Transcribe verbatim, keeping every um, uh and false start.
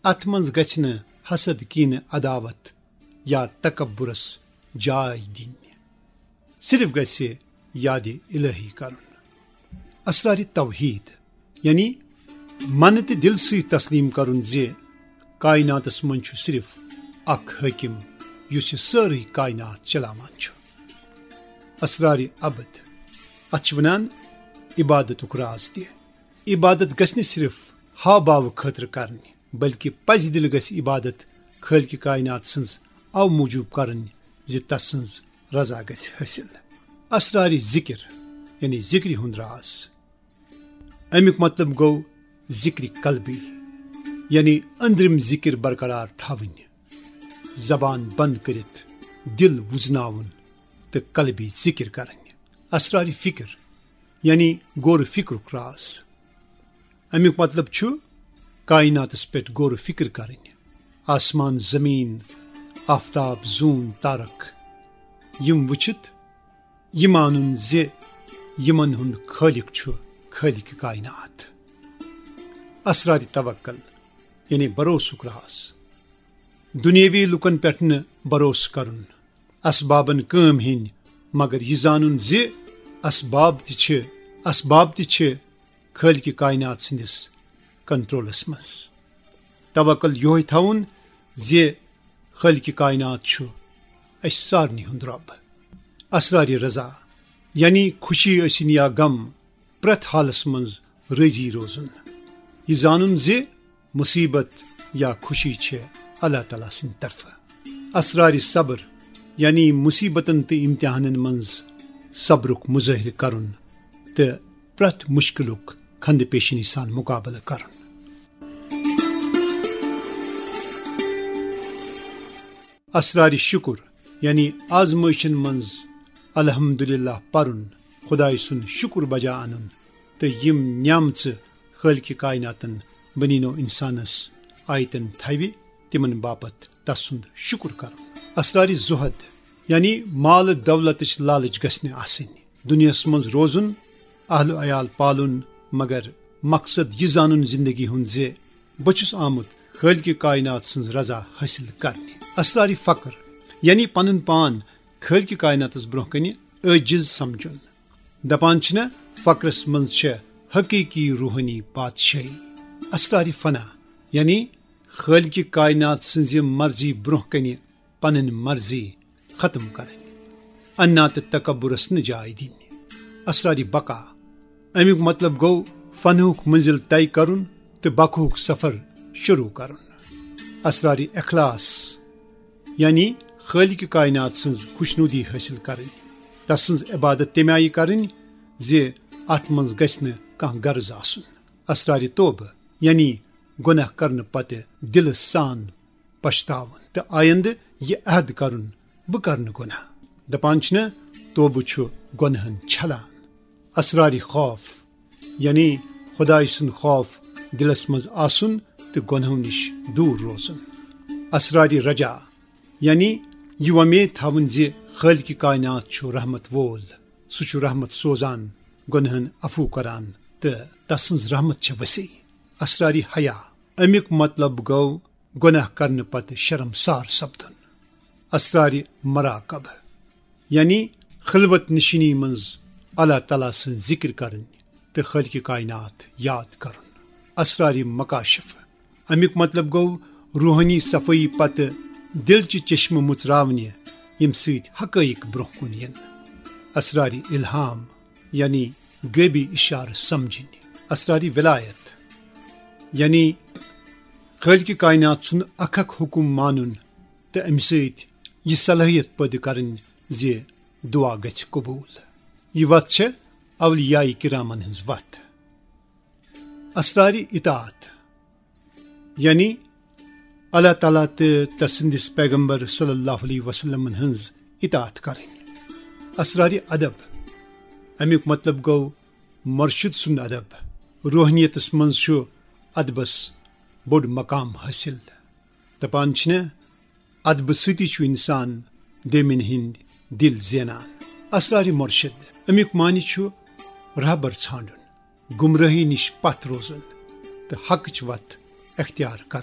اتھ منٛز گژھِ نہٕ حسد، کینہٕ، عداوت یا تکبرس جاے دِنۍ۔ صرف گژھِ یاد الہی کرُن۔ اسرار توحید، یعنی من تہٕ دل سۭتۍ تسلیم کرُن زِ کائناتس منٛز چھُ صرف اکھ حٲکم، یُس یہِ سٲرٕے کائنات چلاوان چھُ۔ اسرار ابد، اتھ چھِ ونان عبادتُک راز تہِ۔ عبادت گژھِ نہٕ صرف ہاو باو خٲطرٕ کرنہِ، بلکہ پزِ دل گژھِ عبادت خالق کائنات سٕنٛز او موٗجوٗب کرٕنۍ زِ تسٕنٛز رضا گژھِ حٲصِل۔ اسرار ذکر، یعنی ذکرِ ہُنٛد راز۔ امیُک مطلب گوٚو ذکر قلبی، یعنی أنٛدرِم ذکر برقرار تھاوٕنۍ، زبان بند کٔرِتھ دل وُزناوُن تہٕ قلبی ذکر کرٕنۍ۔ اسرار فکر، یعنی غور فکرُک راز۔ امیُک مطلب چھُ کائناتس پٮ۪ٹھ غور فکر کرٕنۍ، آسمان زمین، آفتاب، زوٗن، تارک، یِم وٕچھِتھ یہِ مانُن زِ یِمن ہُنٛد خالق چھُ خالق کائنات۔ اسرار توکل، یعنی بھروسُک راز۔ دنیاوی لوٗکن پٮ۪ٹھ نہٕ بھروسہٕ کرُن، اسبابن کٲم ہیٚنۍ، مگر یہِ زانُن زِ اسباب تہِ چھِ، اسباب تہِ چھِ خالق کائنات سٕنٛدِس کنٹرولس منٛز۔ توکل یِہوٚے تھاوُن زِ خالق کائنات چھُ اَسہِ سارنٕے ہُنٛد رب۔ اسرار رضا، یعنی خوشی ٲسِن یا غم، پرٛٮ۪تھ حالس منٛز رٲضی روزُن۔ یہِ زانُن زِ مصیبت یا خوشی چھِ اللہ تعالیٰ سٕنٛدِ طرفہٕ۔ اسرار صبر، یعنی مصیبتن تہٕ امتحانن منٛز صبرُک مظٲہرٕ کرُن تہٕ پرٛٮ۪تھ مشکلُک خندٕ پیشنی سان مقابلہٕ کرُن۔ اسرار شکر، یعنی آزمٲیشن منٛز الحمدللہ پرُن، خدایہِ سُنٛد شکر بجا انُن تہٕ یِم نعمژٕ خالق کائناتن بنی نوع انسانس آیتن تھاوِ، تِمن باپتھ تسُنٛد شکر کرُن۔ اسرار زہد، یعنی مال دولتٕچ لالچ گژھِ نہٕ آسٕنۍ۔ دنیاہس منٛز روزُن، اہل و عیال پالُن، مگر مقصد یہِ زانُن زندگی ہُنٛد زِ بہٕ چھُس آمُت خالق کائنات سٕنٛز رضا حٲصِل کرنہِ۔ اسرار فقر، یعنی پنُن پان خالق کائناتس برونٛہہ کنہِ عاجز سمجھُن۔ دپان چھِنہ، فقرس منٛز چھےٚ حقیقی روحٲنی بادشاہی۔ اسرار فنا، یعنی خالق کائنات سٕنٛزِ مرضی برونٛہہ کنہِ پنٕنۍ مرضی ختم کرٕنۍ، انا تہٕ تکبرس نہٕ جاے دِنۍ۔ اسرار بقا، امیُک مطلب گوٚو فنہُک منزل طے کرُن تہٕ بقہُک سفر شروع کرُن۔ اسرار اخلاص، یعنی خالق کائنات سٕنٛز خوشنودی حٲصِل کرٕنۍ، تسٕنٛز عبادت تَمہِ آیہِ کرٕنۍ زِ اتھ منٛز گژھِ نہٕ کانٛہہ غرض آسُن۔ اسرار توبہٕ، یعنی گۄناہ کرنہٕ پتہٕ دلہٕ سان پشتاوُن تہٕ آیندٕ یہِ عہد کرُن، بہٕ کرٕ نہٕ گۄناہ۔ دپان چھِنہ، توبہٕ چھُ گۄناہن چھلان۔ اسرار خوف، یعنی خدایہِ سُنٛد خوف دلس منٛز آسُن تہٕ گۄناہو نِش دوٗر روزُن۔ اسرار رجا، یعنی یہِ وۄمید تھاوٕنۍ زِ خالق کائنات چھُ رحمت وول، سُہ چھُ رحمت سوزان، گۄناہن عفو کران تہٕ تسٕنٛز رحمت چھےٚ وسیع۔ اسرار حیا، امیُک مطلب گوٚو گۄناہ کرنہٕ پتہٕ شرمسار سپدُن۔ اسرار مراقبہ، یعنی خلوت نشینی منٛز اللہ تعالیٰ سٕنٛز ذکر کرٕنۍ تہٕ خالق کائنات یاد کرُن۔ اسرار مکاشفہ، امیُک مطلب گوٚو روحٲنی صفٲیی پتہٕ دل چہِ چشمہٕ مُژراونہِ، ییٚمہِ سۭتۍ حقائق برونٛہہ کُن یِن۔ اسرار الہام، یعنی غیبی اشارٕ سمجھٕنۍ۔ اسرار ولایت، یعنی خالق کائنات سُنٛد اکھ اکھ حکم مانُن تہٕ امہِ سۭتۍ یہِ صلٲحیت پٲدٕ کرٕنۍ زِ دعا گژھِ قبول۔ یہِ وتھ چھےٚ اولیاء کرامن ہٕنٛز وتھ۔ اسرار اطاعت، یعنی اللہ تعالیٰ تہٕ تسٕنٛدِس پیغمبر صلی اللہ علیہ وسلمن ہٕنٛز اطاعت کرٕنۍ۔ اسرار ادب، امیُک مطلب گوٚو مرشد سُنٛد ادب۔ روحانیتس منٛز چھُ ادبس بوٚڑ مقام حٲصِل۔ دپان چھِنہ، ادبہٕ سۭتی چھُ انسان دوٚیمٮ۪ن ہٕنٛدۍ دل زینان۔ اسرار مرشد، امیُک معنی چھُ رہبر ژھانڈُن، گمراہی نِش پتھ روزُن تہٕ حقٕچ وتھ اختیار کرٕنۍ۔